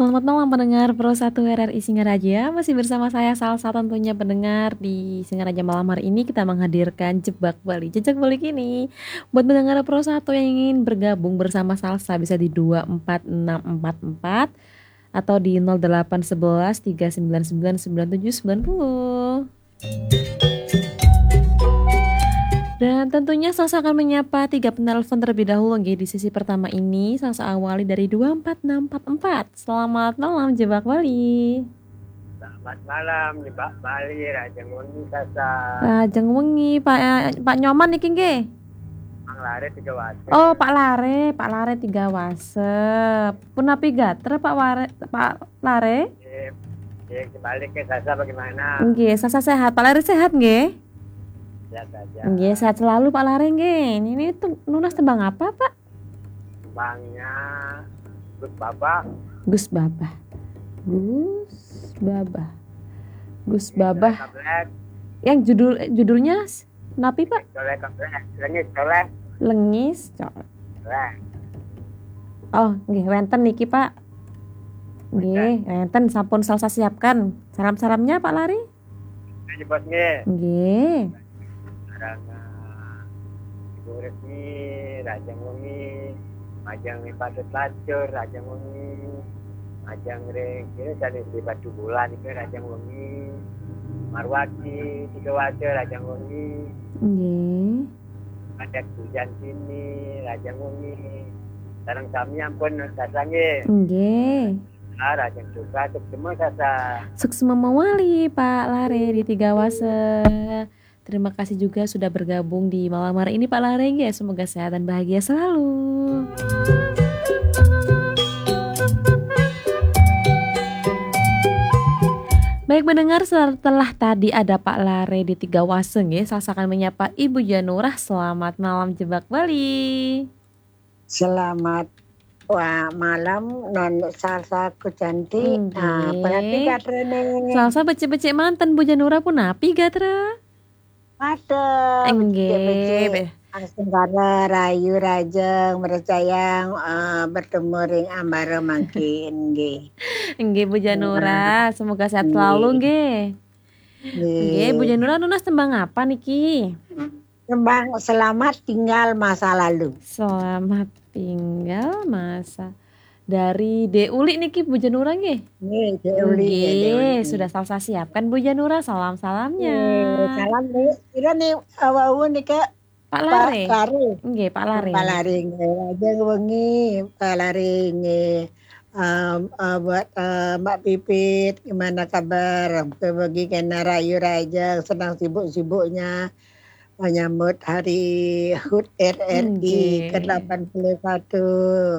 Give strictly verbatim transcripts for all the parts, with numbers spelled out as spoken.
Selamat malam pendengar Pro satu R R I Singaraja. Masih bersama saya Salsa, tentunya pendengar, di Singaraja malam hari ini kita menghadirkan Jebak Bali. Jejak Bali kini. Buat pendengar Pro satu yang ingin bergabung bersama Salsa, bisa di dua empat enam empat empat atau di nol delapan sebelas tiga sembilan sembilan sembilan tujuh sembilan puluh. Dan tentunya Salsa akan menyapa tiga penelpon terlebih dahulu, nggih, di sesi pertama ini. Salsa awali dari dua empat enam empat empat. Selamat malam, Jebak Bali. Selamat malam, Jebak Bali, Rajeng Wengi, Salsa. Rajeng Wengi, Pak, eh, Pak Nyoman niki, nggih? Mang Lare Tiga Wase. Oh, Pak Lare, Pak Lare Tiga Wase. Punapi gatra, Pak Ware, Pak Lare? Nggih, nggih, kembali ke Salsa, bagaimana? Nggih, Salsa sehat. Pak Lare sehat, nggih? Sehat saja. Nggih, sehat selalu, Pak Lare, nggih. Ini tuh nunas tembang apa, Pak? Tembangnya Gus Babah. Gus Babah. Gus Babah. Gus Babah. Kablek. Yang judul, judulnya s-, napi, Pak? Soleh Kablek. Lengis Soleh. Lengis Soleh. Oh, nggih, wenten niki, Pak. Nggih, wenten, sampun Salsa siapkan. Salam-salamnya, Pak Lare? Ini bos, nggih. Nggih. Sareng, eh, Ibu Resmi, Rajeng Wengi, Majeng Patut Lacur, Rajeng Wengi, Majeng Ring, ini dari di Batu Bulan itu, Rajeng Wengi, Marwati, Tiga Wase, Rajeng Wengi. Nggih. Ada Tujan sini, Rajeng Wengi. Sareng sami ampun, Salsa, nggih. Nggih. Ah, Rajeng Suka, suksma, Salsa. Suksma mawali, Pak Lare di Tiga Wase. Terima kasih juga sudah bergabung di malam hari ini, Pak Lare, nggih. Semoga sehat dan bahagia selalu. Baik, mendengar, setelah tadi ada Pak Lare di Tiga Wase, nggih, Salsa akan menyapa Ibu Janurah. Selamat malam, Jebak Bali. Selamat wa-, malam, non Salsa ku cantik. Nggih. Ah, punapi gatrane? Salsa becik-becik manten, Bu Janurah, punapi gatra? Matur, nggih, becik-becik. Be- Asung kara rayu rajeng mercayang, eh, bertemu ring ambara mangkin, nggih. Nggih, Bu Janurah, semoga sehat selalu, nggih. Nggih. Nggih, Bu Janurah, nunas tembang apa niki? Tembang Selamat Tinggal Masa Lalu. Selamat Tinggal Masa. Dari De Uli niki, Bu Janurah, nggih? Nggih, De Uli, ya, De Uli. Nggih, sudah Salsa siapkan, Bu Janurah, salam-salamnya. Nggih, salam nih. Kira nih, eh, wau nih, Kak. Pak Lare. Pak Lare. Nggih, Pak Lare. Pak Lare, nggih. Rajeng Wengi, Pak Lare, nggih. Em, eh, buat, eh, Mbak Pipit, gimana kabar? Mugi-mugi kena rayu rajeng, senang sibuk-sibuknya menyambut hari hut R R I, nggih, ke delapan puluh satu,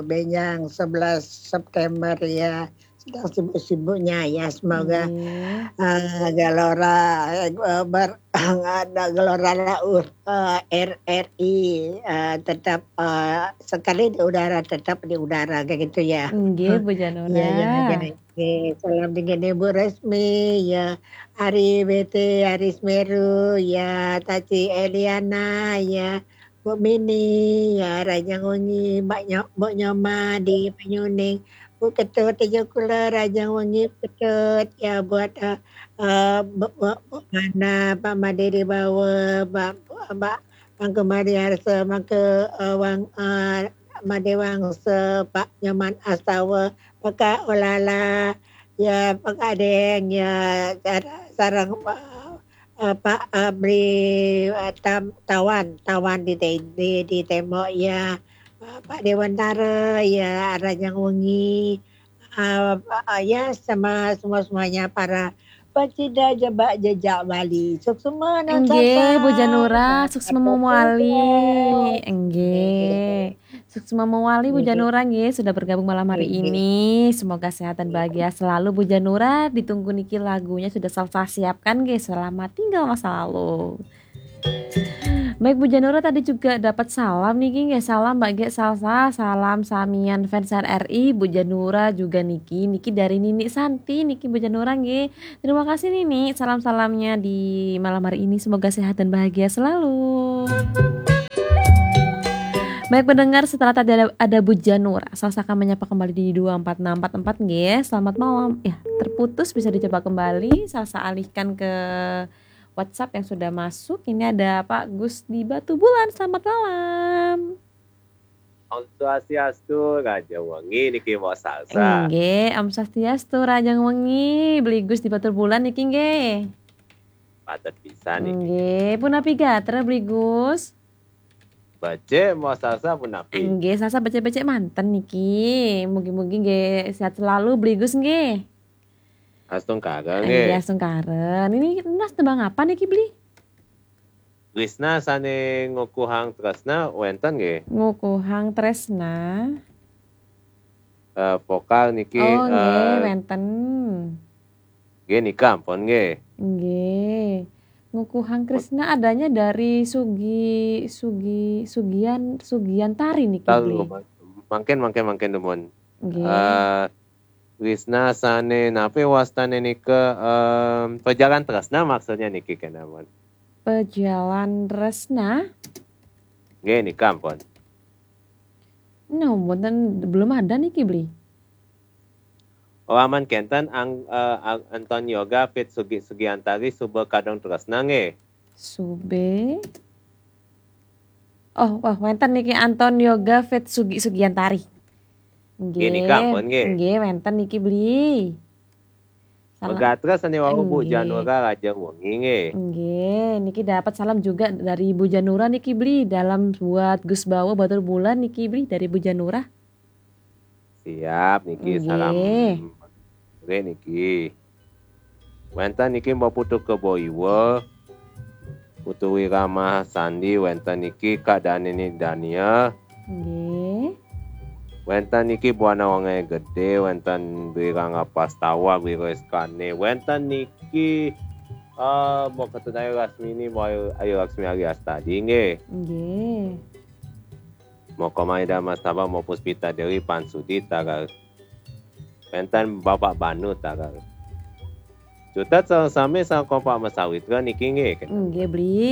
benjang sebelas September, ya. Sedang sibuk-sibuknya, ya. Semoga, nggih, eh, gelora, eh, ber-, ada gelora laut, eh, R R I, eh, tetap, eh, sekali di udara, tetap di udara, kayak gitu, ya. Nggih, Bu Janurah. Iya, iya, iya. Oke, salam dengan Ibu Resmi, ya, Ari B T, Ari Semeru, ya, Taci Eliana, ya, Bu Mini, ya, Rajang Wengi, Mbak Nyo-, Mbok Nyoma di Penyuning, Bu Ketut, Tejo Kula, Rajang Wengi, Bu Ketut, ya, buat, eh, eh, Bu, Bu, Bu Mana, Pak Made di Bawa, Mbak, Mbak, Mangke Mariarsa, Mangke, eh, Wang, eh, Made Wangsa, Pak Nyoman Astawa, Peka Olala, ya, Peka Deng, ya, sar-, sareng, eh, eh, Pak, eh, Bri, eh, Tam-, Tawan, Tawan di te-, di, di Tembok, ya, eh, Pak Dewantara, ya, Rajang Wengi, eh, eh, ya, sama semua-semuanya para pecinta Jebak Jejak Bali. Suksma, non Salsa. Nggih, Bu Janurah, suksma mawali. Nggih. Suksma mawali, Bu Janurah, nggih, sudah bergabung malam hari ini. Semoga sehat dan bahagia selalu, Bu Janurah. Ditunggu niki lagunya sudah Salsa siapkan, nggih. Selamat Tinggal Masa Lalu. Baik, Bu Janurah, tadi juga dapat salam niki, nggih. Salam, Mbak Gek Salsa, salam samian fans R R I, Bu Janurah juga niki. Niki dari Nini Santi niki, Bu Janurah, nggih. Terima kasih, Nini. Salam-salamnya di malam hari ini. Semoga sehat dan bahagia selalu. Baik pendengar, setelah tadi ada, ada Bu Janura, Salsa akan menyapa kembali di dua empat enam empat empat, nggih. Selamat malam. Ya, terputus, bisa dicoba kembali. Salsa alihkan ke WhatsApp yang sudah masuk. Ini ada Pak Gus di Batubulan. Selamat malam. Om Swastiastu, Raja Wengi niki Mbok Salsa. Nggih, Om Swastiastu, Raja Wengi. Beli Gus di Batubulan niki nggih. Patut bisa niki. Nggih, punapi gatra Beli Gus? Becik Mbok Salsa punapi? Nggih, Salsa becik-becik manten niki. Mugi-mugi nggih sehat selalu Beli Gus nggih. Astungkara Nggih, nggih. Astungkara. Ini Mas tembang apa niki Beli? Tresna sane ngukuhang tresna wenten nggih. Ngukuhang Tresna. Eh, vokal niki Oh, nggih, eh, wenten. nggih nika ampun nggih. Nggih. Ngukuhang Tresna adanya dari Sugi Sugi Sugian Sugiantari niki Tahu Beli. mangkin mangkin mangkin dumun. Nggih. Eh, Tresna sane napi wastane nika, em, pejalan tresna maksudnya niki kenamun. Pejalan Tresna. Nggih nika ampun. No, mboten, belum ada niki Beli. Oh aman kenten ang, eh, ang- Anton Yoga fit Sugi Sugiantari suba kadang tresna nggih. Sube. Oh, wah, wenten niki Anton Yoga fit Sugi Sugiantari. Nggih, nika ampun, nggih. Nggih, wenten niki Beli. Salam. Megatra sane wau Bu Nggih. Janura Raja Wengi nggih. Nggih, niki dapat salam juga dari Bu Janura niki Beli, dalam buat Gus Bawa Batubulan niki Beli dari Bu Janura. Siap niki Nggih. Salam. Nggih niki. Wenten niki Mbok Putu Kebo Iwa. Putu Wirama Sandi wenten niki Kak Danini Dania. Nggih. Wenten niki Buana Wangai Gede, wenten Wiranga Pastawa, Wiro Eskane, wenten niki eh Mbok Ketut Ayu Lasmini, Mbok Ayu, Ayu Laksmi Ari Astadi nggih. Nggih. Mbok Komaida Mas Taba, Mbok Puspita Dewi Pansudi tagal. Wenten Bapak Banu tagal. Jutat sareng sami sareng kompak masawitra niki nggih. Nggih, Beli.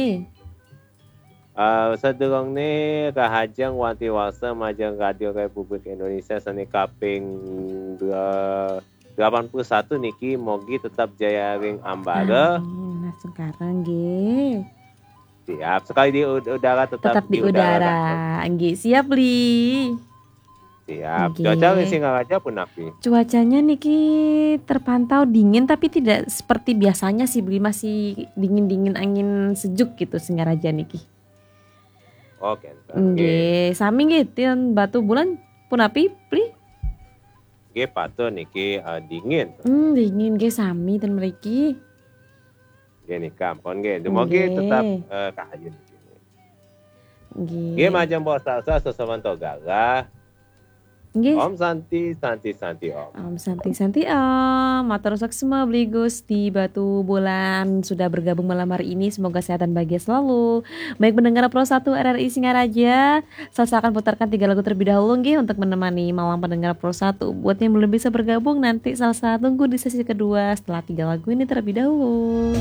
Eh, sadurungne rahajeng wanti warsa majeng Radio Republik Indonesia sane kaping dua- delapan puluh satu niki mogi tetap jaya ring ambara. Amin, Mas Sungkara nggih. Siap, sekali di ud- udara tetap, Tetap di udara. Nggih, siap, Beli. Siap. Nggih. Cuaca ring Singaraja punapi? Cuacanya niki terpantau dingin tapi tidak seperti biasanya sih, Beli, masih dingin-dingin angin sejuk gitu Singaraja niki. Oh, kenten. Nggih. Nggih, sami nggih ten Batubulan punapi, Beli? Nggih patut niki eh, dingin. Hmm, dingin nggih sami ten mriki. Nggih nika ampun nggih. Dumogi Nggih. Tetap eh, kahayu niki. Nggih. Nggih majeng Mbok Salsa sesawanto galah. Nggih. Om Santi, Santi, Santi Om. Om Santi, Santi Om. Matur suksma Beli Gus di Batubulan sudah bergabung malam hari ini. Semoga sehat dan bahagia selalu. Baik pendengar Pro satu R R I Singaraja, Salsa akan putarkan tiga lagu terlebih dahulu nggih untuk menemani malam pendengar Pro satu. Buat yang belum bisa bergabung, nanti Salsa tunggu di sesi kedua setelah tiga lagu ini terlebih dahulu.